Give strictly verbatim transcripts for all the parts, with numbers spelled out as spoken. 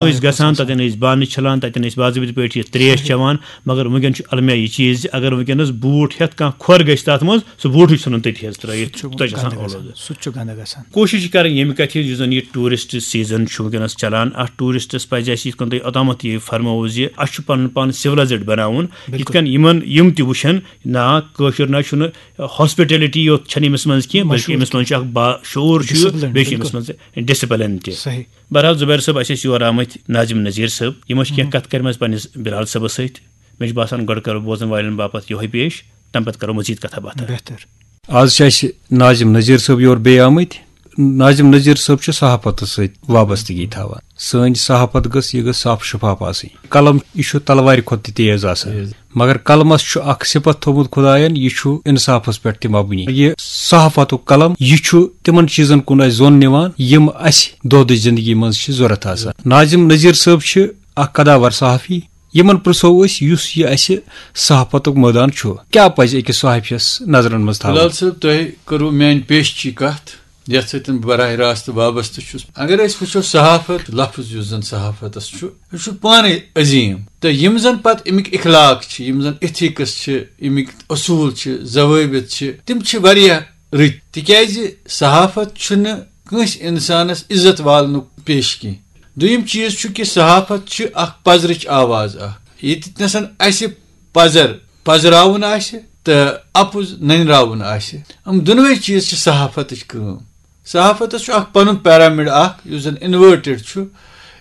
ٲسۍ گژھان، تَتٮ۪ن ٲسۍ بانہٕ چھَلان، تَتٮ۪ن ٲسۍ باضٲبطہٕ پٲٹھۍ یہِ ترٛیش چٮ۪وان۔ مگر وٕنکٮ۪ن چھُ المیہ یہِ چیٖز زِ اگر وٕنکٮ۪نَس بوٗٹھ ہٮ۪تھ کانٛہہ کھۄر گژھِ تَتھ منٛز، سُہ بوٗٹھٕے ژھٕنُن تٔتھی حظ ترٛٲیِتھ، سُہ چھُ تَتہِ چھُ آسان گنٛدٕ اولوٗدٕ۔ گژھان، سُہ تہِ چھُ گنٛدٕ گژھان۔ کوٗشِش چھِ کَرٕنۍ ییٚمہِ کَتھِ ہِنٛز، یُس زَن یہِ ٹوٗرِسٹ سیٖزَن چھُ وٕنکٮ۪نَس چَلان، اَتھ ٹوٗرِسٹَس پَزِ اَسہِ یِتھ کٔنۍ تۄہہِ اوٚتامَتھ یہِ فرمووُ زِ اَسہِ چھُ پَنُن پان سِولایزٕڈ بَناوُن، یِتھ بِلکُل۔ کٔنۍ یِمَن یِم تہِ وٕچھَن، نہ، کٲشُر نہ چھُنہٕ ہاسپِٹیلٹی یوت چھَنہٕ أمِس منٛز کینٛہہ، بلکہِ مشہوٗر۔ أمِس منٛز چھُ اَکھ باشعوٗر چھُ، ڈسپلن، بیٚیہِ چھُ أمِس بِلکُل۔ منٛز ڈسپلن تہِ۔ صحیح۔ بہرحال زبیر صٲب، اَسہِ ٲسۍ یور آمٕتۍ ناظم نذیر صٲب، یِمو چھِ کینٛہہ کَتھ کَرِمَژٕ پنٛنِس بِلال صٲبَس سۭتۍ۔ مےٚ چھُ باسان گۄڈٕ کَرو بوزَن والٮ۪ن باپَتھ یِہوٚے پیش، تَمہِ پَتہٕ کَرو مٔزیٖد کَتھا باتھا۔ بہتر۔ آز چھِ اَسہِ ناظم نذیر صٲب یور بیٚیہِ آمٕتۍ۔ ناظم نذیر صٲب چھُ صحافتَس سۭتۍ وابستگی تھاوان۔ سٲنۍ صحافت گٔژھ، یہِ گٔژھ صاف شفاف آسٕنۍ۔ قلم، یہِ چھُ تلوارِ کھۄتہٕ تہِ تیز آسان۔ تیز۔ مگر قلمس چھُ اکھ صفت تھوٚومُت خداین، یہِ چھُ انصافس پٮ۪ٹھ تہِ مبنی۔ یہِ صحافتُک قلم، یہِ چھُ تِمن چیٖزن کُن اَسہِ زون نِوان، یِم اَسہِ دۄہ دِش زندگی منٛز چھِ ضوٚرتھ آسان۔ ناظم نذیر صٲب چھِ اکھ قداور صحافی۔ یِمن پرژھو أسۍ، یُس یہِ اَسہِ صحافتُک مٲدان چھُ، کیٛاہ پزِ أکِس صحافیَس نظرن منٛز تھاوُن؟ بلال صٲب، تۄہہِ کٔرٕو میانہِ پیشچی کتھ، یتھ سۭتۍ بہٕ براہ راست وابستہٕ چھُس۔ اگر أسۍ وٕچھو صحافت، لفظ یُس زن صحافتس چھُ، یہِ چھُ پانے عظیٖم۔ تہٕ یِم زن پتہٕ اَمِکۍ اخلاق چھِ، یِم زن ایتھکس چھِ، اَمِکۍ اصوٗل چھِ، ضوٲبط چھِ، تِم چھِ واریاہ رٕتۍ۔ تِکیازِ صحافت چھُنہٕ کٲنٛسہِ انسانس عزت والنُک پیش کینٛہہ۔ دوٚیِم چیٖز چھُ کہِ صحافت چھِ اکھ پزرٕچ آواز اکھ۔ ییٚتہِ نسن اَسہِ پزر پزراوُن آسہِ تہٕ اپُز ننراوُن آسہِ، یِم دۄنوَے چیٖز چھِ صحافتٕچ کٲم۔ صحافتس چھُ اکھ پنُن پیرامڈ اکھ، یُس زن انورٹڈ چھُ۔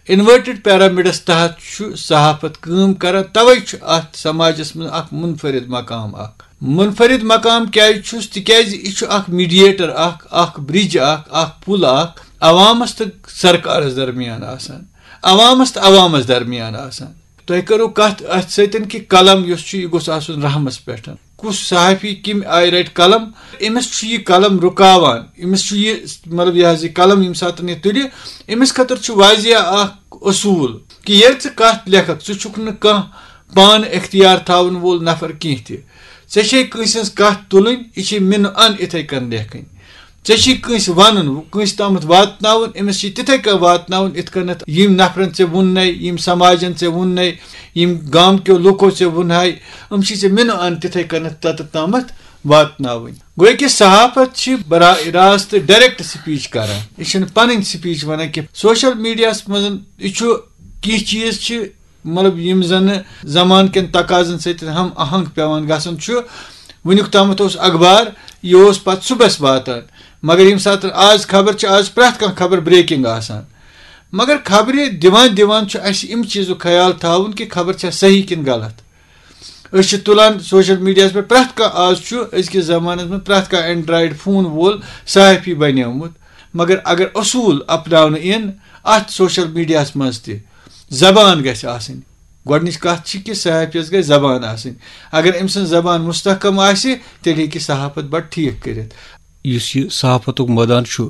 انورٹڈ پیرامڈس تحت چھُ صحافت کٲم کران، توے چھُ اتھ سماجس منٛز اکھ منفرد مقام اکھ۔ منفرد مقام کیازِ چھُس؟ تِکیازِ یہِ چھُ اکھ میڈیٹر اکھ، اکھ برج اکھ، اکھ پُل اکھ عوامس تہٕ سرکارس درمیان آسان، عوامس تہٕ عوامس درمیان آسان۔ تۄہہِ کٔرٕو کتھ اتھ سۭتۍ کہِ قلم یُس چھُ، یہِ گوٚژھ آسُن رحمس پٮ۪ٹھ۔ کُس صحافی کمہِ آیہِ رٹہِ قلم؟ أمِس چھُ یہِ قلم رُکاوان، أمِس چھُ یہِ، مطلب، یہِ حظ یہِ قلم ییٚمہِ ساتہٕ یہِ تُلہِ، أمِس خٲطرٕ چھُ واضح اکھ اصوٗل کہِ ییٚلہِ ژٕ کتھ لیکھکھ، ژٕ چھُکھ نہٕ کانٛہہ پانہٕ اختیار تھاوَن وول نفر کینٛہہ تہِ۔ ژےٚ چھے کٲنٛسہِ ہٕنٛز کتھ تُلٕنۍ، یہِ چھے مِنہٕ ان اِتھے کٔنۍ لیکھٕنۍ۔ ژےٚ چھے کٲنٛسہِ ونُن، کٲنٛسہِ تامتھ واتناوُن، أمِس چھے تِتھے کٔنۍ واتناوُن، یِتھ کٔنٮ۪تھ یِم نفرن ژےٚ ووٚننے، یِم سماجن ژےٚ ووٚننے، یِم گامکیو لوٗکو ژےٚ ووٚنہے، یِم چھے ژےٚ مِنہٕ ان تِتھے کٔنٮ۪تھ تتٮ۪تھ تامتھ واتناوٕنۍ۔ گوٚو کہِ صحافت چھِ براہ راست ڈائریکٹ سپیچ کران، یہِ چھنہٕ پنٕنۍ سپیچ ونان کینٛہہ۔ سوشل میڈیاہس منٛز یہِ چھُ، کینٛہہ چیٖز چھِ، مطلب، یِم زن زمانہٕ کٮ۪ن تقاضن سۭتۍ ہم آہنگ پٮ۪وان گژھان چھُ۔ وٕنیُک تامتھ اوس اخبار، یہِ اوس پتہٕ صُبحس واتان، مگر ییٚمہِ ساتہٕ آز خبر چھِ، آز چھِ پرٛٮ۪تھ کانٛہہ خبر بریکنگ آسان۔ مگر خبرِ دِوان دِوان چھُ اَسہِ اَمہِ چیٖزُک خیال تھاوُن کہِ خبر چھا صحیح کِنہٕ غلط۔ أسۍ چھِ تُلان سوشل میڈیاہَس پٮ۪ٹھ، پرٛٮ۪تھ کانٛہہ، آز چھُ أزکِس زمانَس منٛز پرٛٮ۪تھ کانٛہہ اینڈرایڈ فون وول صحافی بنیومُت۔ مگر اگر اصوٗل اپناونہٕ یِن اَتھ سوشل میڈیاہَس منٛز تہِ، زبان گژھِ آسٕنۍ۔ گۄڈٕنِچ کَتھ چھِ کہِ صحافیَس گژھِ زبان آسٕنۍ۔ اگر أمۍ سٕنٛز زبان مستحکم آسہِ، تیٚلہِ ہیٚکہِ صحافت بَڑٕ ٹھیٖک کٔرِتھ۔ یُس یہِ صحافتُک مٲدان چھُ،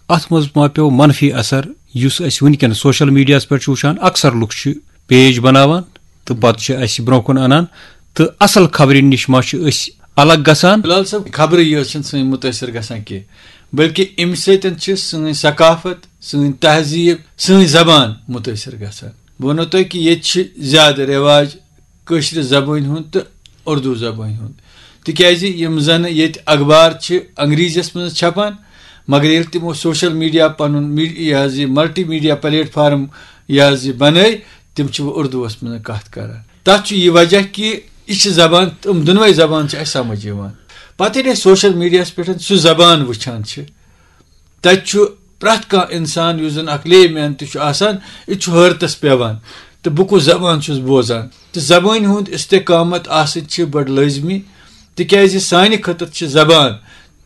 اَتھ منٛز ما پیوٚو منفی اثر، یُس أسۍ وٕنکٮ۪ن سوشل میڈیاہَس پٮ۪ٹھ چھِ وٕچھان، اکثر لُکھ چھِ پیج بناوان تہٕ پتہٕ چھِ اَسہِ برونٛہہ کُن اَنان، تہٕ اصل خبرِ نِش ما چھِ أسۍ الگ گژھان؟ بلال صٲب، خبرٕے یٲژ چھَنہٕ سٲنۍ مُتٲثر گژھان کینٛہہ، بلکہِ اَمہِ سۭتۍ چھِ سٲنۍ ثقافت، سٲنۍ تہذیٖب، سٲنۍ زبان مُتٲثر گژھان۔ بہٕ وَنو تۄہہِ کہِ ییٚتہِ چھِ زیادٕ رٮ۪واج کٲشرِ زبٲنۍ ہُنٛد تہٕ اُردو زبٲنۍ ہُنٛد، تِکیٛازِ یِم زَن ییٚتہِ اخبار چھِ انگریٖزیَس منٛز چھپان، مگر ییٚلہِ تِمو سوشل میڈیا پَنُن می-، یہِ حظ یہِ ملٹی میڈیا پلیٹ فارم یہِ حظ یہِ بنٲے، تِم چھِ وۄنۍ اُردوَس منٛز کَتھ کران۔ تَتھ چھُ یہِ وجہ کہِ یہِ چھِ زبان، تِم دۄنوَے زبان چھِ اَسہِ سمجھ یِوان۔ پَتہٕ ییٚلہِ أسۍ سوشل میڈیاہَس پٮ۪ٹھ سُہ زبان وٕچھان چھِ، تَتہِ چھُ پرٛٮ۪تھ کانٛہہ اِنسان، یُس زَن اَکھ لے مین تہِ چھُ آسان، یہِ تہِ چھُ حٲرتَس پٮ۪وان، تہٕ بہٕ کُس زبان چھُس بوزان۔ تہٕ زبٲنۍ ہُنٛد استحکامت آسٕنۍ چھِ بَڑٕ لٲزمی، تِکیٛازِ سانہِ خٲطرٕ چھِ زبان،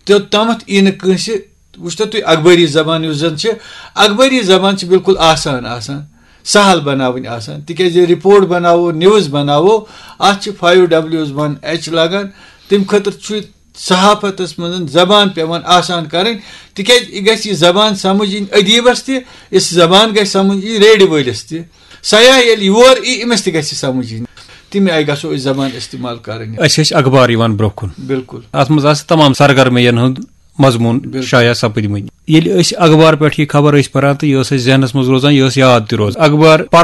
توٚتامَتھ یی نہٕ کٲنٛسہِ، وٕچھتو تُہۍ، اخبٲری زبان یُس زَن چھِ، اخبٲری زبان چھِ بالکل آسان آسان، سہل بناوٕنۍ آسان، تِکیٛازِ رپورٹ بناوو، نیوز بناوو، اَتھ چھِ فایو ڈبلیوز ون ایچ لگان، تَمہِ خٲطرٕ چھُ صحافتس منٛز زبان پٮ۪وان آسان کرٕنۍ، تِکیازِ یہِ گژھِ یہِ زبان سمجھ یِنۍ ادیبس تہِ، یہِ زبان گژھِ سمجھ یِنۍ ریڈِ وٲلِس تہِ۔ سیاح ییٚلہِ یور یی، أمِس تہِ گژھِ یہِ سمجھ یِنۍ۔ تَمہِ آیہِ گژھو أسۍ زبان استعمال کرٕنۍ۔ اَسہِ ٲسۍ اخبار یِوان برونٛہہ کُن۔ بِلکُل۔ اَتھ منٛز آسہٕ تمام سرگرمیَن ہُنٛد مضموٗن شایع سپٕدمٕتۍ۔ ییٚلہِ أسۍ اخبار پٮ۪ٹھ یہِ خبر ٲسۍ پران تہٕ یہِ ٲس اَسہِ ذہنس منٛز روزان، یہِ ٲس یاد تہِ روزان۔ اخبار